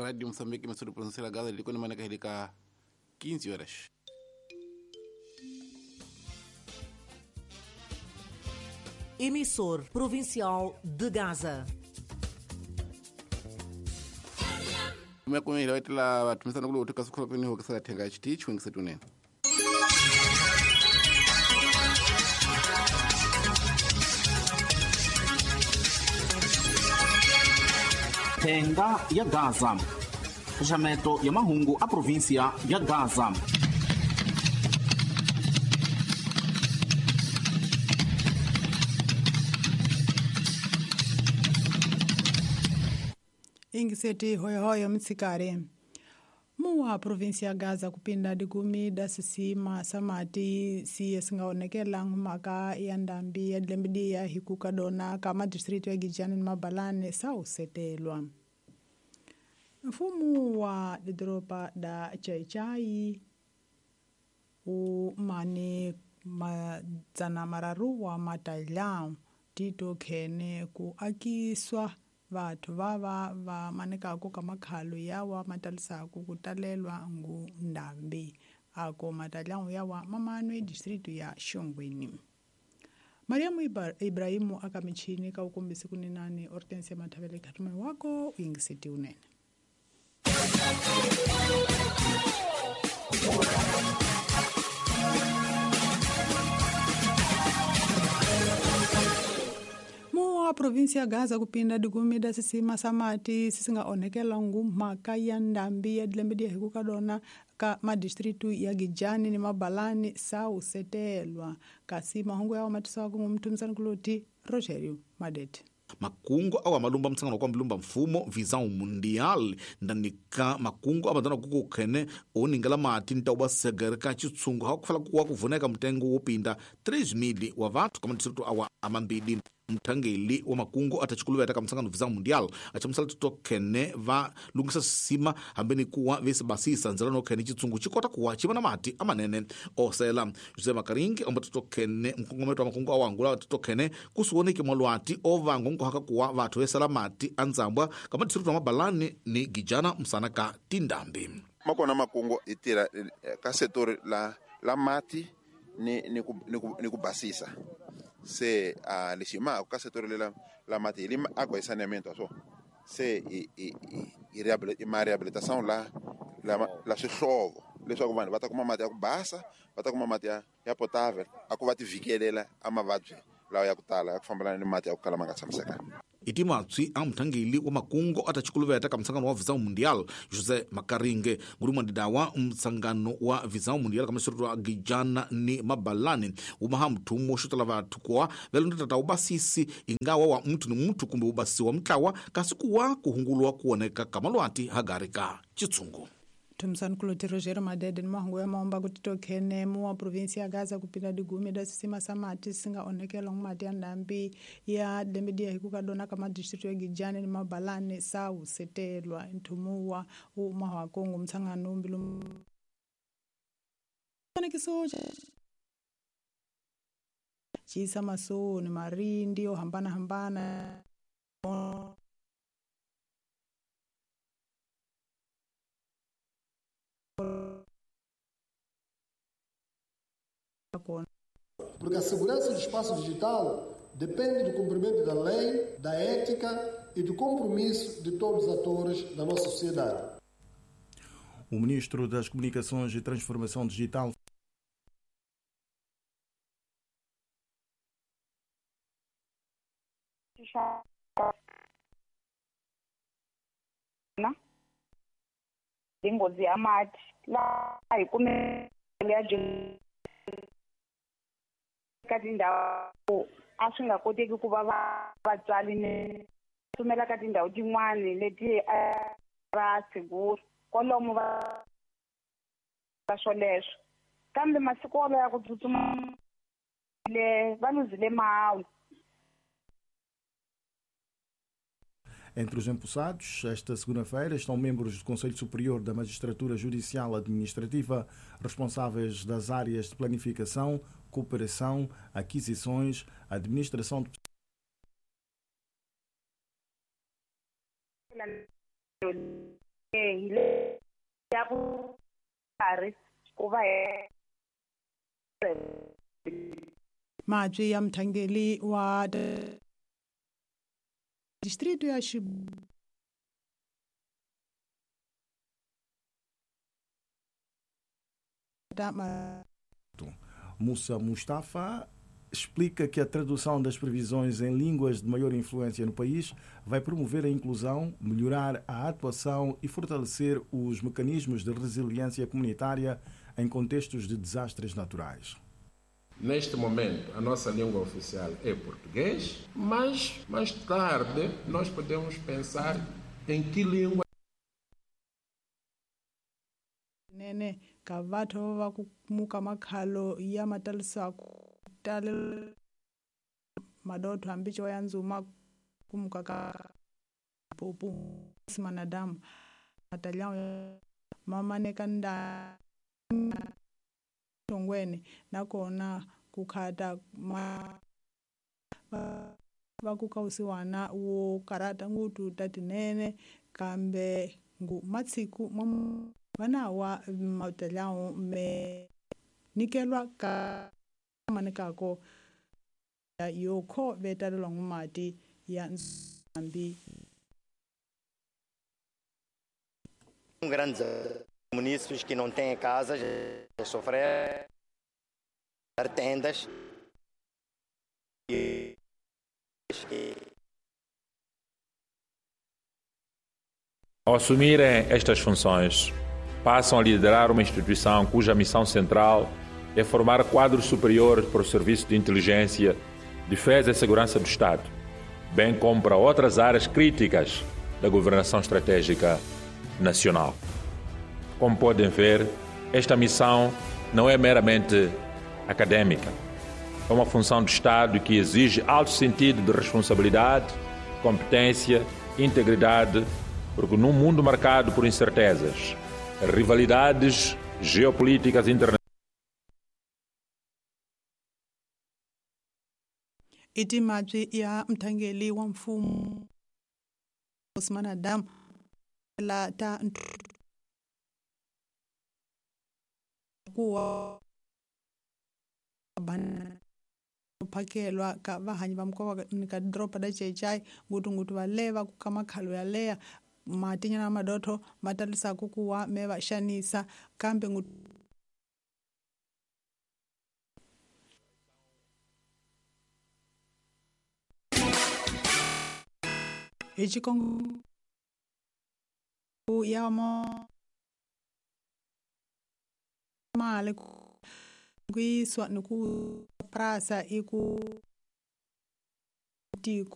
Rádio Moçambique, emissora provincial Gaza, de quando maneca de 15 horas. Emissor Provincial de Gaza. Makumira waitela vatumisana kule utika sukula pene hokisala thenga chiti chiwengisa tunene. Thenga ya Gaza. Xaxameto ya mahungu a província ya Gaza. Ingiseti hoyohoyo mtsikari muwa provinsi ya Gaza kupinda dikumi da sisima samati siye singaonekela mhaka ya ndambi ya dilembidiya hikuka dona ka madistritu ya Gijani ni Mabalane sausetelwa. Mfumo wa didoropa da Chaichai umane madzana mararu wa matalhão tito khene ku akiswa vathu vava va manekaku ka makhalo yawa matalisaku ku talelwa ngu ndambi ako matalhão yawa mamano distrito ya Xongweni. Mariamu Ibrahimu aka michini ka ukombisi kuninani Hortensia Mathavele khatuma wako uyingiseti unene. Província ya Gaza kupinda dikumi da sisima samati sisingaonekela ngu mhaka ya ndambi ya dilembe ya hikuka dona ka madistritu ya Gijani ni Mabalani sausetelwa kasi mahungu yawo matiswaku ngumthumisani kuloti Rogerio Madete. Makungu awa malumba mtsangano kwa mlumba mfumo visão mundial ndanika makungu abandona kukukhene oningela mati ntauba segereka chitsungu hakufala kuwa kuvuneka mtengo wopinda 3,000 wa vathu kama distritu awa amambili. Mthangeli wa makungu atachikuluveta ka mtsangano visão mundial achamusala titokhene va lungisa sisima hambeni kuwa vesibasisa ndzela nokhene chitsungu chikota kuwa chiva na mati amanene osela. José Makaringi omba titokhene mkongometo wa makungu awangula titokhene kusiwoneke mwalwati ovango nkuhaka kuwa vathu vesala mati andzambwa kama distritu wa Mabalani ni Gijana msana ka tindambi. Makona makungu itira ka setor la mati ni kubasisa. Se lexi ka setor lela la mati li água e saneamento so se i ma rehabilitação la swihlovo leswaku vanhu va ta kuma mati ya ku basa, va ta kuma mati ya potável a ku va ti vikelela a mavabyi lawa ya ku tala ya ku fambelana ni mati ya ku kala ma nga tshamisekanga. Itimatswi a mthangeli wa makungu atachikuluveta ka mtsangano wa visão mundial José Makaringe ngulumwa ndidawa mtsangano wa visão mundial ka masirutu wa Gijana ni Mabalani umaha mthumo xotala vathu kuwa velondotata ubasisi ingawa wa muthu ni muthu kumbe ubasisi wa mutlawa kasi kuwa kuhungulwa kuoneka ka malwati hagari ka chitsungu. Thumisani kuloti Rogerio Madede ni mahungu ya maomba kuti tokhene muwa província ya Gaza kupinda digumi da sisima samati singaonekela ngumati ya ndambi ya dilembe ya hikuka dona ka madistritu ya Gijani ni Mabalani sausetelwa nthumuwa umahwako ngumtsangano mbilu fanekiso chisa masoni marindi yo hambana hambana Porque a segurança do espaço digital depende do cumprimento da lei, da ética e do compromisso de todos os atores da nossa sociedade. O ministro das Comunicações e Transformação Digital nghozi ya mati laha hi kumele ya ka tindhawu a swi nga koteki ku va vatswari ni tsumela ka tindhawu tin'wani leti a va sigura kwalomu va swoleswo kambe masiku wolowo ya ku tsutsuma le va luzile mahawu. Entre os empossados, esta segunda-feira, estão membros do Conselho Superior da Magistratura Judicial Administrativa, responsáveis das áreas de planificação, cooperação, aquisições, administração de... Hi le ya ku karhi ku va mabyi ya mthangeli wa distrito ya Mussa Mustafa explica que a tradução das previsões em línguas de maior influência no país vai promover a inclusão, melhorar a atuação e fortalecer os mecanismos de resiliência comunitária em contextos de desastres naturais. Neste momento, a nossa língua oficial é português, mas mais tarde nós podemos pensar em que língua. Nene, ka vathu va ku muka makhalo ya matalisaku tale madotho hambi ya ndzuma kumuka ka pupu simanadamu matalhão mamaneka nda tongweni nakona ku khata ma va ku kausiwana wo karata ngutu tatinene kambe ngu matsiku vanawa matalhão me nikelwa ka manekako yokho vetalelwa ngumati ya nzambi. Grandes munícipes que não têm casas, sofrer tendas e ao assumirem estas funções, passam a liderar uma instituição cuja missão central é formar quadros superiores para o serviço de inteligência, defesa e segurança do Estado, bem como para outras áreas críticas da governação estratégica nacional. Como podem ver, esta missão não é meramente acadêmica. É uma função do Estado que exige alto sentido de responsabilidade, competência, integridade, porque num mundo marcado por incertezas, rivalidades geopolíticas internacionais, i timabyi ya mthangeli wa mfumo Osman Adam la ta kuwa phakelwa ka vahanyi va mukova ka doroba da Chechai ngutungutu va leva ku ka makhalo ya leya matinyana madotho ma talisaku kuwa me va xanisa kambe hi xikongo ya mali ku yisiwa ni ku prasa i ku tiko.